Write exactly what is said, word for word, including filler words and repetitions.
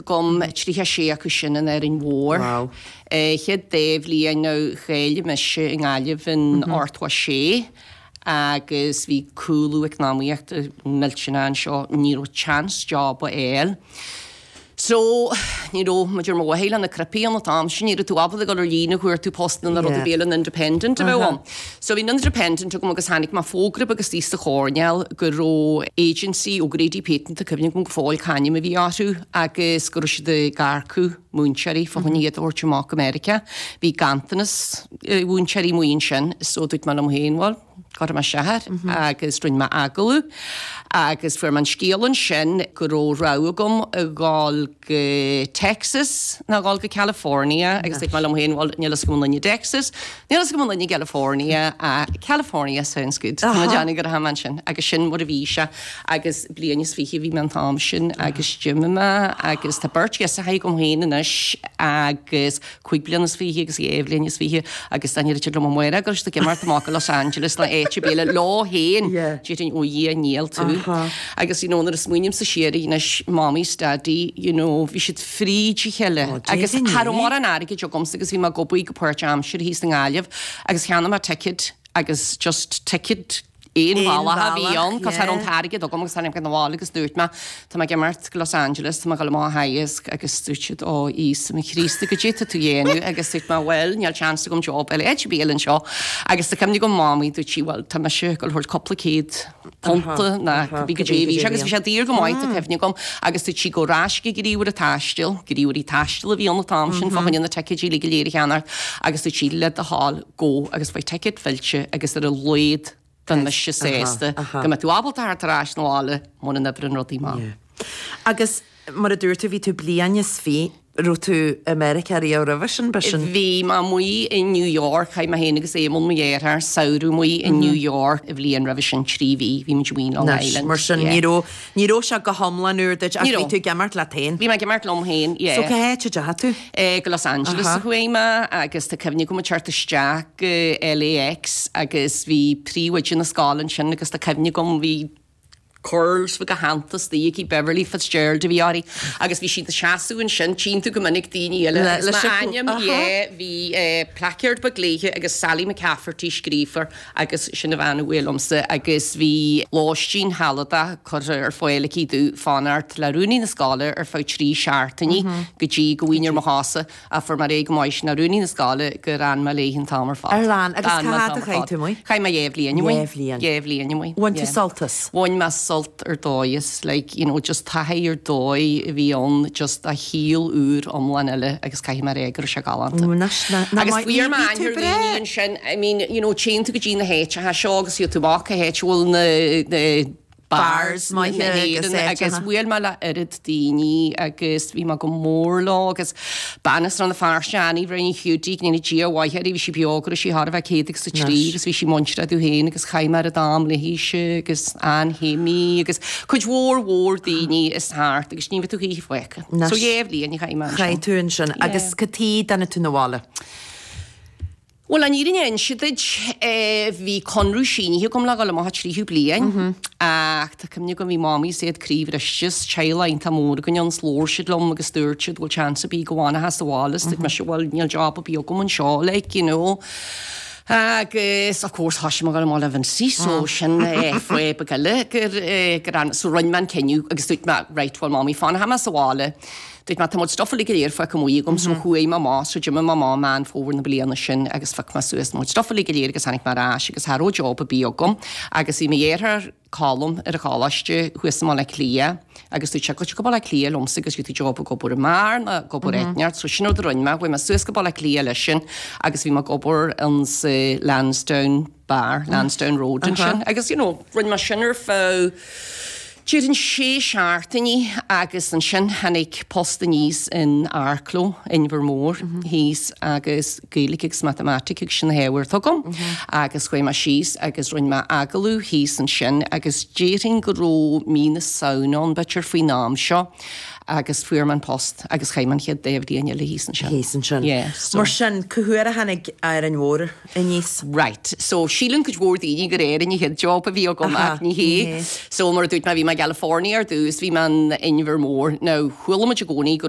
agam, tríocha sé acu sin in Árainn Mhór. Wow. Chéad dá bhliain nó cháiligh mise i nGaillimh in ochtó a sé agus bhí cúlú eacnamaíochta millteanach anseo, ní raibh chance job a fháil. So, ní raibh muid ar mo mhaithe le na cnaipí an t-am sin, ní raibh tú ábalta dul ar líne chuartú post na rud a bhí an Independent a bheith ann. So bhí an Independent agam agus tháinig mé fógra agus thíos sa choirnéal go raibh agency O'Grady Peyton, tá cuimhne agam go fóill c'ainm a bhí orthu agus go raibh siad ag earcú múinteoirí fá choinne iad a thabhairt amach go Meiriceá. Bhí ganntanas mhúinteoirí amuigh ansin, so dúirt mé liom féin, bhuel, cuirfidh mé isteach air agus rinne mé agallamh agus fuair mé an scéal ansin go raibh rogha agam a dhul go Texas nó dhul go California agus dúirt mé liom féin, bhuel, níl fhios agam an duine Texas, níl fhios agam an duine California, uh, California sounds good. Tá mé déanamh go raibh ansin agus sin mar a bhí sé agus bliain is fiche bhí mé an t-am sin agus d'imigh mé agus tá beirt ghirseacha agam féin anois agus cúig bliana is fiche agus dhá bhliain is fiche agus tá ní liom amárach agus tá imeacht amach go Los Angeles le áit ar bith leo féin déarfainn ó Dhia níl tú. Agus you know, nuair a smaoinímse siar anois Mommy 's Daddy, you know, bhí siad fríd a chéile agus cha raibh mórán airgid agamsa agus bhí mé ag obair go páirtaimseartha thíos i nGaillimh agus cheannaigh mé ticket agus just ticket aon bhealach a bhí ann, cos cha raibh an t-airgead agam agus tháinig mé abhaile agus dúirt mé tá mé ag imeacht go Los Angeles, tá mé ag dul amach a theagasc agus dúirt siad ó Íosa mo Chríost goidé tá tú dhéanamh agus dúirt mé well níl chance agam job eile áit ar bith anseo agus tá cuimhne agam Mamaí dúirt sí well tá mise ag dul thabhairt cúpla céad punta ná bhí go dé bhí sé agus bhí sé daor go maith tá cuimhne agam agus dúirt sí gabh ar ais go gníomhaire taistil, gníomhairí taistil a bhí ann an t-am sin fá choinne na ticéidí le go léir a cheannacht agus dúirt sí le do thoil gabh agus beidh ticket fillte agus ar a laghad bheidh mise sásta go mbeidh tú ábalta theacht ar ais 'na bhaile mura n-oibreann rudaí maith. Agus mar a dúirt tú bhí tú bliain is fiche raibh tú i Meiriceá riamh roimhe sin b'shin. Bhí mé amuigh i New York, chaith mé féin agus Éamonn mo dheartháir samhradh amuigh i New York i bhliain roimhe sin trí mhí, bhí muid amuigh in Long Island. Mar sin ní raibh ní raibh sé go hiomlán úr duit ach bhí tú ag imeacht leat féin. Bhí mé ag imeacht liom féin, yeah. So cá háit a dteachaigh tú? Eh, go Los Angeles a chuaigh mé agus tá cuimhne agam ag teacht isteach go LAX agus bhí príomhoide na scoile ansin agus tá cuimhne agam bhí curls go hantas aici Beverly Fitzgerald a bhí uirthi agus bhí siad ag seasamh ansin tchíonn tú go minic daoine eile agus m'ainm yeah bhí eh, placard beag léithe agus Sally McCafferty scríofa agus sin a bhean a bhuail liomsa agus bhí lóistín shealadach curtha ar fáil aici domh fanacht le rúnaí na scoile ar feadh trí seachtainí go dtí go bhfaighinn ar mo chosa a fuair mé réidh go maith sin rúnaí na scoile gur fhan mé léi an t-am ar fad. Ar fhan agus cá fhad a chaith tú amuigh? Chaith mé dhá bhliain amuigh. Dhá bhliain. Dhá bhliain amuigh. Bhain tú sult as? Bhain mé sult ar dóigh is like you know just taithí ar dóigh a bhí ann just a shaol úr iomlán eile agus caithfidh mé rá go raibh sé galánta. Agus fuair mé aithne ar dhaoine ansin I mean you know téann tú go dtí na háiteacha seo agus tú amach cá háit a bhfuil na na bars maithe agus agus bhuail mé le oiread daoine agus bhí mé go mór leo agus bean as Rann na Feirste Annie Bhrein Hiúdaí go ndéana Dia a mhaith uirthi bhí sí beo go raibh sí thar a bheith céad agus a trí agus bhí sí muinteartha domh féin agus chaith mé oiread am léithise agus Ann Shéimí agus cuid mhór mhór daoine is thart agus ní bheidh tú choíche fágtha. So dhá bhliain a chaith mé ansin. Chaith tú ansin agus cad chuige a dtáinig tú 'na bhaile? Bhuel an fhírinne a inse duit, bhí conradh sínithe agam le dhul amach an tríú bliain ach tá cuimhne agam bhí Mamaí is iad croíbhriste is teaghlach iontach mór againn ann 's labhair siad liom agus dúirt siad bhfuil chance ar bith go bhfanfá sa bhaile is dúirt mise bhuel níl job ar bith agam anseo like you know. Agus of course thoisigh mé ag dul amach le Vincie so sin fáth beag eile gur gur so rinne mé an cinneadh agus dúirt mé right bhuel Mamaí fanfaidh mé sa bhaile Dúirt mé tá mo chuid stuff uilig go léir fágtha amuigh agam so chuaigh mé amach so d'imigh mé amach Meán Fómhair na bliana sin agus phioc mé suas mo chuid stuff uilig go léir agus tháinig mé ar ais agus cha raibh job ar bith agam agus bhí mo dheartháir Colm ar an choláiste thuas i mBaile Átha Cliath agus dúirt sé gabh go Baile Átha Cliath liomsa agus gheobhaidh tú job ag obair i mbeár nó ag obair áit inteacht so sin rud a rinne mé chuaigh mé suas go Baile Átha Cliath leis sin agus bhí mé ag obair in sa Lansdowne Bar, Lansdowne Road ansin agus you know rinne mé sin ar feadh déarfainn sé seachtainí agus ansin tháinig post aníos in Arklow, Inbhir Mór thíos agus Gaeilge agus Matamaitic agus sin na hábhair atá agam agus chuaigh mé síos agus rinne mé agallamh thíos ansin agus déarfainn go raibh mí na Samhna ann b'fhéidir faoin am seo agus fuair mé an post agus chaith mé an chéad dá bhliain eile thíos ansin. Thíos ansin. Yeah, so- Mar sin, cá huair a tháinig Árainn Mhór aníos? Right, so síleann cuid mhór daoine gur Éirinn an chéad job a bhí agam Aha, ach ní ní hé. hé. So mar a dúirt mé bhí mé i gCalifornia ar dtús, bhí mé in Inbhir Mór. Now chuala muid i gcónaí go